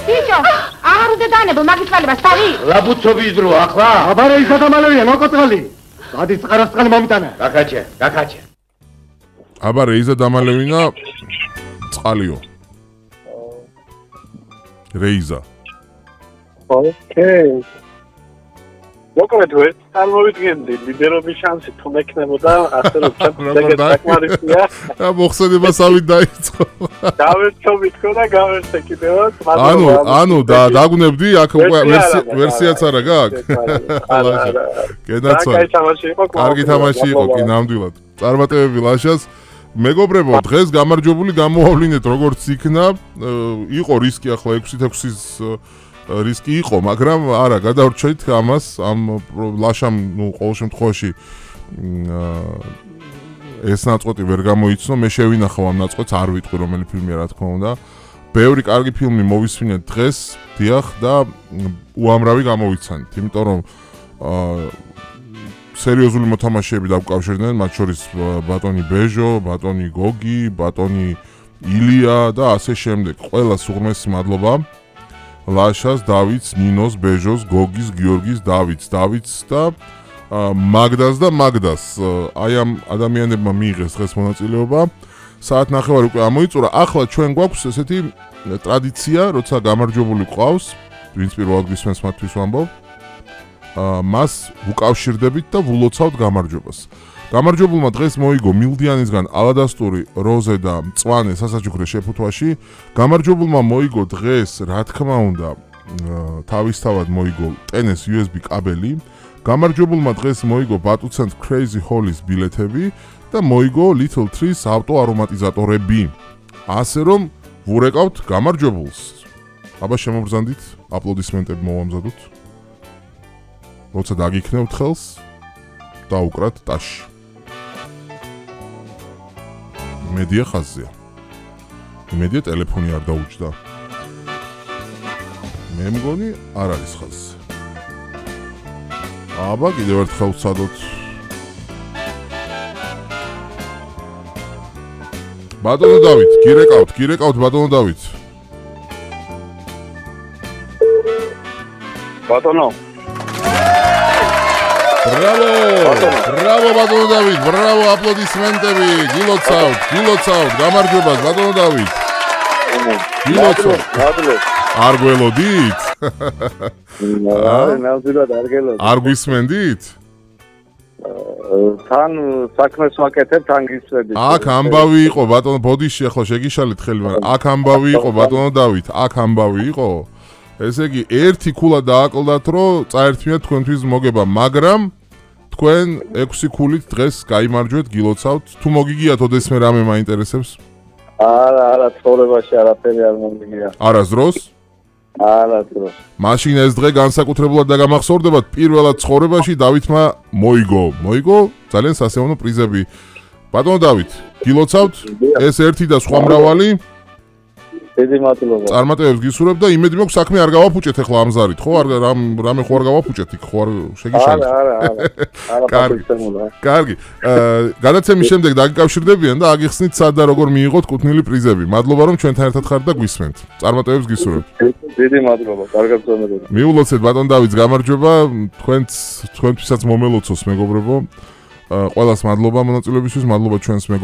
ბიჭო, აღარ უნდა დაანებო მაგის წყალებას, თავი? რაბუცობის დრო ახლა? აბა რა ისა დამალევია, მოკოწყალი. გადის წყარასწყალი მომიტანა. გაკაჩე. აბა რეიზა დამალევინა წყალიო. რეიზა. ოკეი. მოკლედ ვერ წარმოვიდგენდი ლიდერობის შანსი თუ მექნებოდა ასე რომ საკმარისია. და მოხსენება სამით დაიწყო. გავერთობ თქო და გავერთე კიდევაც. ანუ დაგუნებდი აქ ვერსიაც არა გაქვს? კენაცვა. კარგი თამაში იყო კი ნამდვილად. წარმატებები ლაშას. მეგობრებო, დღეს გამარჯვებული გამოავლინეთ როგორც იქნა. იყო რისკი ახლა 6-6-ის რისკი იყო, მაგრამ არა, გადავრჩეთ ამას, ამ ლაშამ, ყოველ შემთხვევაში ეს ნაწყვეტი ვერ გამოიცნო, მე შევინახავ ამ ნაწყვეტს, არ ვიტყვი რომელი ფილმია, რა თქმა უნდა. ბევრი კარგი ფილმი მოვისმინეთ დღეს, დიახ, და უამრავი გამოვიცანით, იმიტომ რომ სერიოზული მოთამაშეები დავკავშირდნენ, მათ შორის ბატონი ბეჟო, ბატონი გოგი, ბატონი ილია და ასე შემდეგ. ყველას უღრმესი მადლობა. ლაშას, დავითს, ნინოს, ბეჟოს, გოგის, გიორგის, დავითს და მაგდას. აი ამ ადამიანებმა მიიღეს დღეს მონაწილეობა. საათ ნახევარი უკვე ამოიწურა. ახლა ჩვენ გვაქვს ესეთი ტრადიცია, როცა გამარჯვებული ყავს, ვინც პირველად გვისმენს მათთვის ვამბობ. მას უკავშირდებით და ვულოცავთ გამარჯვებას. გამარჯვებულმა დღეს მოიგო მილდიანისგან ალადასტური, როზე და მწვანე სასაჩუქრე შეფუთვაში. გამარჯვებულმა მოიგო დღეს, რა თქმა უნდა, თავისთავად მოიგო ტენეს USB კაბელი. გამარჯვებულმა დღეს მოიგო ბატუცენტ Crazy Hall-ის ბილეთები და მოიგო Little Trees ავტო არომატიზატორები. ასე რომ ვურეკავთ გამარჯვებულს. აბა შემობრძანდით, აპლოდისმენტები მოვამზადოთ. როცა დაგიქნევთ ხელს, დაუკრათ ტაში. იმედია ხაზზეა. იმედია ტელეფონი არ დაუჯდა. მე მგონი არ არის ხაზზე. აბა კიდევ ერთხელ ვცადოთ. ბატონო დავით, გირეკავთ ბატონო დავით. ბატონო. Bravo ბატონო დავით, ბრავო, აპლოდისმენტები, გილოცავთ, გამარჯვებას ბატონო დავით. გილოცავთ. არ გველოდით? ნამდვილად არ გველოდით. არ გვისმენდით? თან საქმეს ვაკეთებ, თან გისმენდით. აქ ამბავი იყო ბატონო, ბოდიში ახლა შეგიშალეთ ხელი, მაგრამ აქ ამბავი იყო ბატონო დავით, აქ ამბავი იყო. ესე იგი, ერთი ქულა დააკლდათ, რომ წაერთმიათ თქვენთვის მოგება, მაგრამ თქვენ 6 ქულით დღეს გაიმარჯვეთ, გილოცავთ. თუ მოგიგიათ ოდესმე რამე მაინტერესებს? არა, ცხოვრებაში არაფერი არ მომიგია. არასდროს? არასდროს. მაშინ ეს დღე განსაკუთრებულად დაგამახსოვრდებათ, პირველად ცხოვრებაში დავითმა მოიგო ძალიან სასიამოვნო პრიზები. ბატონო დავით, გილოცავთ, ეს ერთი და სხვა მრავალი. დიდი მადლობა. წარმატებებს გისურვებ და იმედი მაქვს საქმე არ გავაფუჭეთ ახლა ამ ზარით, ხო? რამე ხო არ გავაფუჭეთ იქ, ხო არ შეგიშალეთ? არა. კარგი. გადაცემის შემდეგ დაგიკავშირდებიან და აგიხსნით სად და როგორ მიიღოთ კუთვნილი პრიზები. მადლობა რომ ჩვენთან ერთად ხართ და გვისმენთ. წარმატებებს გისურვებ. დიდი მადლობა. კარგად გწონებოდა. მიულოცეთ ბატონ დავითს გამარჯვება, თქვენთვისაც მომელოცოს მეგობრებო. ყველას მადლობა მონაწილეობისთვის, მადლობა ჩვენს